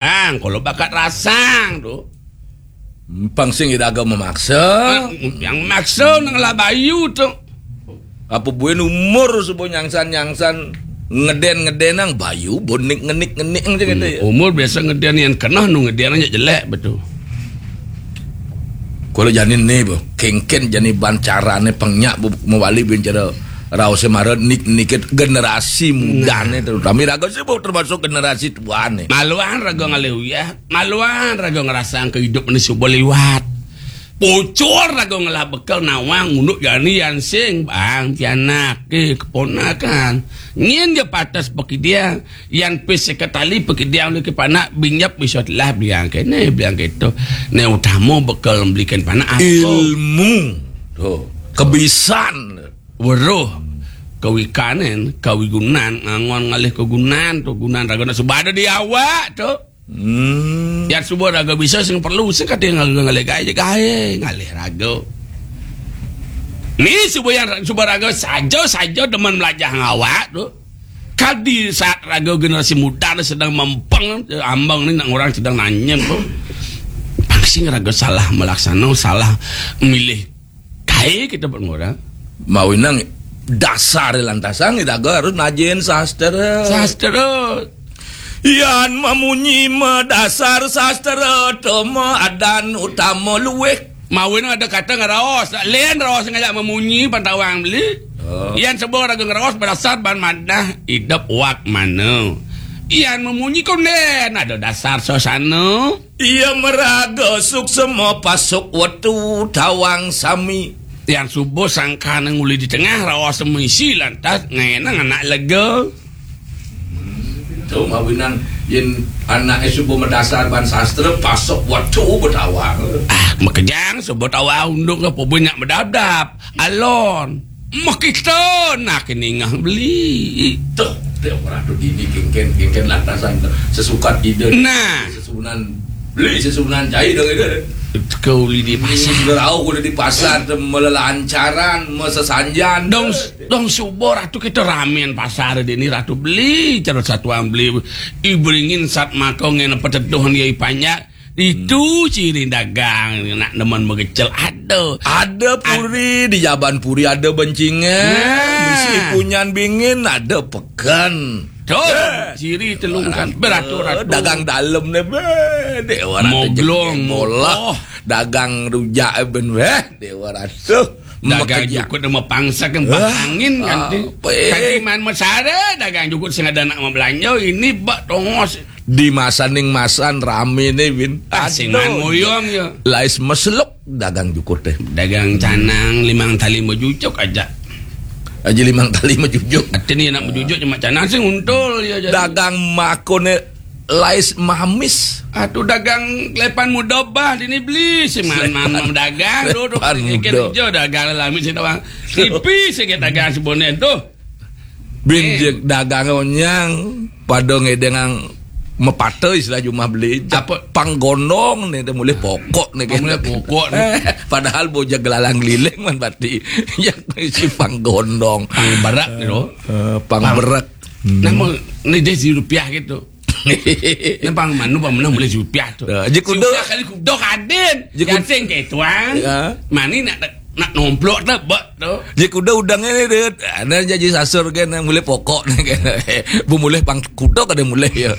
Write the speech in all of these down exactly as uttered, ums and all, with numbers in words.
Ang, kalau bakat rasang tu. Pang sing iraga memaksa. Ah, yang maksa nang lah bayu tu. Apa buin umur suba nyangsan-nyangsan ngeden-ngeden nang bayu bonik ngenik-ngenik aja gitu ya. Umur biasa ngeden yang kenah nu ngeden aja jelek betul. Kalau jani ni, bo, kengken jani ban carane pengnya bu mawali bin cara raose mara nik nikit generasi mudane terutama raga sih, bo, termasuk generasi tuane. Maluan raga ngalih uyah, maluan raga ngerasang kehidupan ni suba liwat. Pucur raga ngelah bekel nawang unduk jani yan sing bang pianak ke keponakan. Nyin dia patas pekidiang, yan pis seketali pekidiang oleh ke panak binjap bisa telah beliang kene beliang keto. Ne utama bekel belikan panak apa? Ilmu. Tuh, kebisan. Weruh. Kewikanen, kewigunan, ngangon ngalih kegunan tu, gunan raga nak sebada di awak tu. Hmm. Yang suba raga bisa sing perlu sing kata yang raga ngalih gae je gae ngalih raga. Ni suba yang suba raga saja saja demen melajah ngawak tu. Kadi saat raga generasi muda ni sedang mempeng, ambang ni nak orang sedang nanya tu. Pang sing raga salah melaksana, salah milih. Kae kita buat orang. Mawinang dasar lantasang raga harus najin sastra. Sastra. Yan mamunyi madasar sastra tama adan utama luwih. Mawin ada kata ngeraos. Lain raos ngajak mamunyi pantawang beli. Oh. Yan sebab raga ngeraos berdasar ban madah idep wak mana. Yan mamunyi konden ada dasar suasana. Iya meraga suksema pasuk wetu tawang sami. Yang subuh sangkana nguli di tengah raos misi lantas ngenang anak lega. Tu mawinan yen anake suba madasar ban sastra pasuk wetu betawang. Ah, makejang suba tawang unduk apa banyak bedabdab. Alon. Mekita nak ningah beli. Tuh, dia orang tu dini kengken, kengken lantasan tu. Sesukat ide. Nah. Sesunan beli, sesunan cai dong ide. Kau uli di pasar. Berau kuda di pasar tu melelancaran, mesesanjan. Dong, dong subuh ratu kita ramen pasar dini ratu beli, cara satuan beli. Iberingin sat makau ngena peteduh dia ipanjak. Itu ciri dagang nak nemen megecel ada. Ada puri di Jaban Puri ada bencingan. Nah. Misi punyan bingin ada peken. Tuh, eh, ciri telungkan beratur-atur. Dagang dalem ne be. Dek orang moglong bola. Oh. Dagang rujak ben weh. Dek orang tuh. Dagang jukut sama pangsa kan angin kan. Kanti man mesara dagang jukut sing ada nak mau belanja ini bak tongos. Di masa ning masan rame ne, Win. Ah, sing man moyong ya. Lais meseluk dagang jukut teh. Dagang canang limang tali majujuk aja. Aja limang tali majujuk. Ati ni nak majujuk cuma canang sing untul ya jadi. Dagang makone lais mamis. Atuh dagang lepan muda bah dini beli sing man man dagang tu tu. Lepan muda. Dagang lelami sing tawang. Tipis sikit dagang sebone tu. Bin je dagang onyang pada ngedengang mepata istilah jumah beli. Apa? Panggondong ni dia mulai pokok ni. Mulai pokok ni. Padahal bocah gelalang keliling man bati. Yang isi panggondong. Pang berak ni tu. Eh, pang berak. Nama ni dia si rupiah gitu. Ni pang manu pang menang mulai si rupiah tu. Ya, je kuda. Si rupiah kali kuda kadin. Yang sing ke tuang. Ya. Mani nak nak nomplok tak bak tu. Dia kuda udang ni dia. Ada jadi sasur kan mulai pokok ni kan. Bu mulai pang kuda kada mulai ya.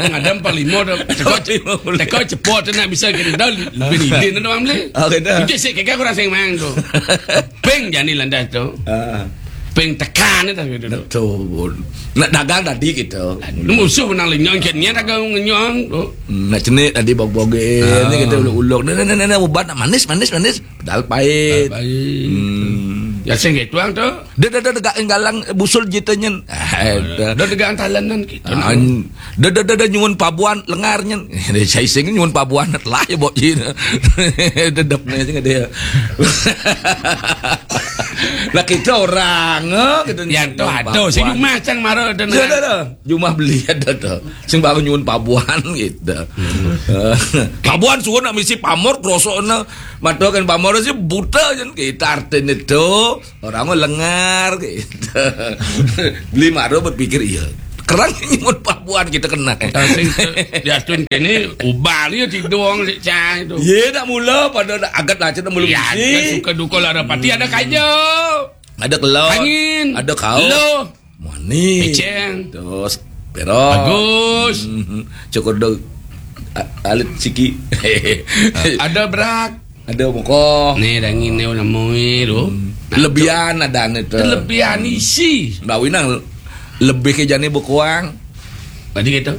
Ada pang lima tu. Teko teko cepat tu nak bisa kita dah lebih ni dia nak orang beli. Oh, kena. Itu sik kekal kurang sing mang tu. Peng jani landas tu. Ah. Peng tekan ni tak gitu. Betul. Nak dagang tadi kita. Musuh menang lenyong kan ni dagang lenyong tu. Hmm, nak cenik tadi bog-bogin ni kita uluk-uluk. Ni ni ni ubat nak manis manis manis. Padahal pahit. Padahal pahit. Hmm. Ya, sing gitu, ang, tu. Dah, dah, dah, dah, galang busul jita nyen. Ah, dah. Dah, dah, galang talanan gitu. Ah, dah, dah, dah, dah, nyuwun pabuan lengar nyen. Saya sing nyuwun pabuan telah ya, bok jin. Dedep ni sing dia. Lah, kita orang, eh, gitu. Ya, tu, aduh, si Jumah cang marah, dah, dah, dah. Jumah beli ada tu. Sing baru nyuwun pabuan gitu. Hmm. Pabuan suwun nak misi pamor, krosok na. Mata kan pamor sih buta jen. Kita artinya tu orang mah lengar gitu. Beli maro berpikir, iya. Kerang nyebut pabuan kita kena. Diatun kene ubah dia tidung si cai tu. Ye, nak mula pada nak agat lah, cakap mula Ya, bisi. Suka duka lah ada pati ada kaja. Ada kelot. Angin. Ada kau. Lo. Mani. Peceng. Terus, perok. Bagus. Mhm. Cukup dong. A- Alit siki. Ada berak. Ada muka. Ni dangin ni nama ni tu. Lebihan ada ni tu. Lebihan isi. Bawi nang lebih ke jani berkurang. Tadi kata.